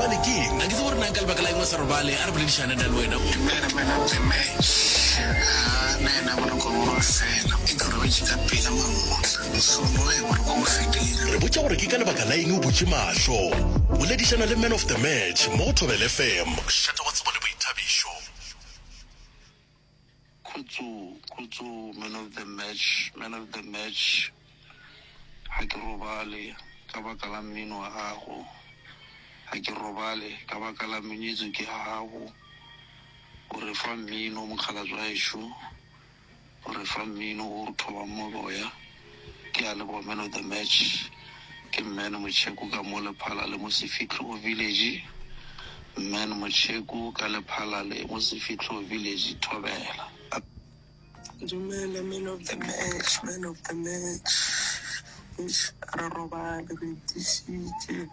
robale ke eng? A ke tsebe gore na ka lebaka la eng o sa robale, a re boledišane nna le wena. Dumela man of the match. Haa nna ena boroko bo a fela. E ke robetše ka pela mamohla. So no he boroko bo fedile. Re botša gore ke ka lebaka la eng o butše mahlo. Boledišana le man of the match mo go Thobela FM. Mošate wa tsebo le boithabišo. Khutso, khutso man of the match, man of the match Ga ke robale ka baka la mmino wa gago Ga ke robale ka baka la music ya gago O re fa mmino mokgalabje wa gešo O re fa mmino o re thobang moboya Ke a leboga man of the match Ke Man Motšheko ka mo Lephalale mo Sefihlo Village Man Motšheko ka Lephalale mo Sefihlo Village Thobela. Dumela man of the match, man of the match. Eish, re robale re itišitše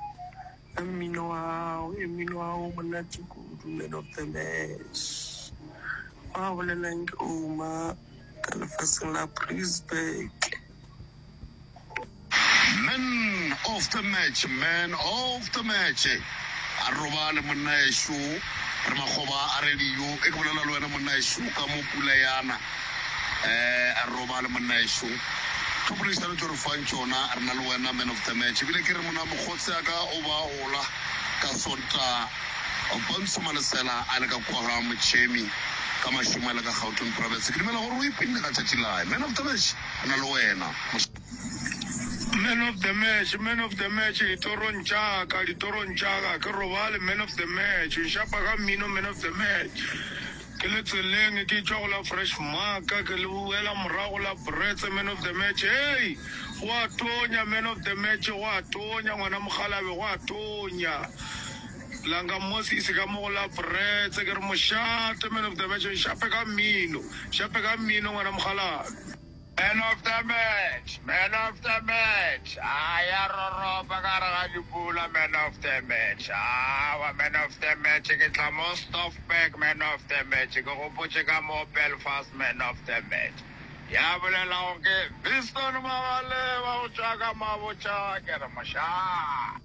ka mmino wa gago, e mmino wa gago o monate kudu man of the match. Wa bolelang ke Ouma ka lefaseng la Brisburg. Man of the match, man of the match. A re robale monna ešo, re makgoba a radio. E ke bolela le wena monna ešo ka mo pula yana. Eh, a re robale monna ešo. Tlhopoledišano tšo re fang tšona, re na le wena man of the match. Ebile ke re monna mokgotsi a ka o ba hola ka Sontaga. Pontsho Malesela a le ka kua ga Motšhemi ka mašemo a le ka Gauteng Province. Ke dumela gore o ipinne ka tšatši lae. Man of the match, re na le wena. Man of the match, man of the match, ditorong tša ka, ditorong tša ka, ke robale, man of the match, nšapa ka mmino, man of the match. Ke le tseleng ke tšwa go la Fresh Mark, ke le boela morago la Bretse, man of the match. Hey, go a tonya, man of the match, go a tonya, ngwana mokgalabe, go a tonya. Langa Moses ka mo go la Bretse, ke re mošate, man of the match, nšape ka mmino, šape ka mmino, ngwana mokgalabe. Man of the match, man of the match, a ya roropa ka gare ga dipula, man of the match, awa man of the match, ke tla mo Stoffberg, man of the match, ke gopotše ka mo Belfast, man of the match. Ya bolelago ke Viston Magaleba go tšwa ka Mabotja, ke re mošaa.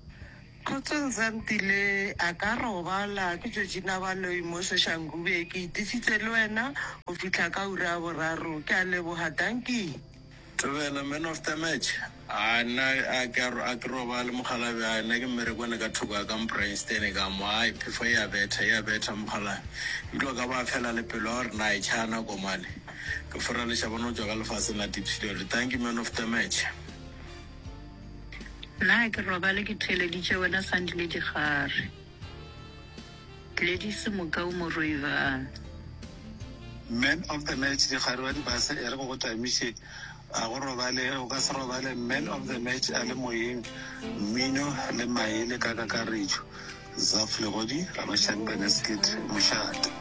Kgotsong Zantile, a ka robala, ke Georgina Baloyi mo Soshanguve, ke itišitše le wena go fihla ka ura ya boraro, ke a leboga, dankie. Thobela, man of the match, A nna a ke a ke robale mokgalabje, a nna ke mmerekwane ka thoko ya ka Mbreinstein ka mo, ai phefo e a betha, e a betha mokgalabje, ebile o ka ba fela le pelo ya gore na e tšhaya nako mane, ke fora lešabana go tšwa ka lefaseng la Diepsloot, thank you man of the match. Nna ga ke robale ke theeleditše wena Sandile Digare. Gladys Mokau Moroivan. Man of the match Digare wa dibase e re go go tamiše a go robale o ka se robale man of the match a le moyeng mmino le maele ka kakaretšo Zaf Legodi Rabashani Beneskit Mošate.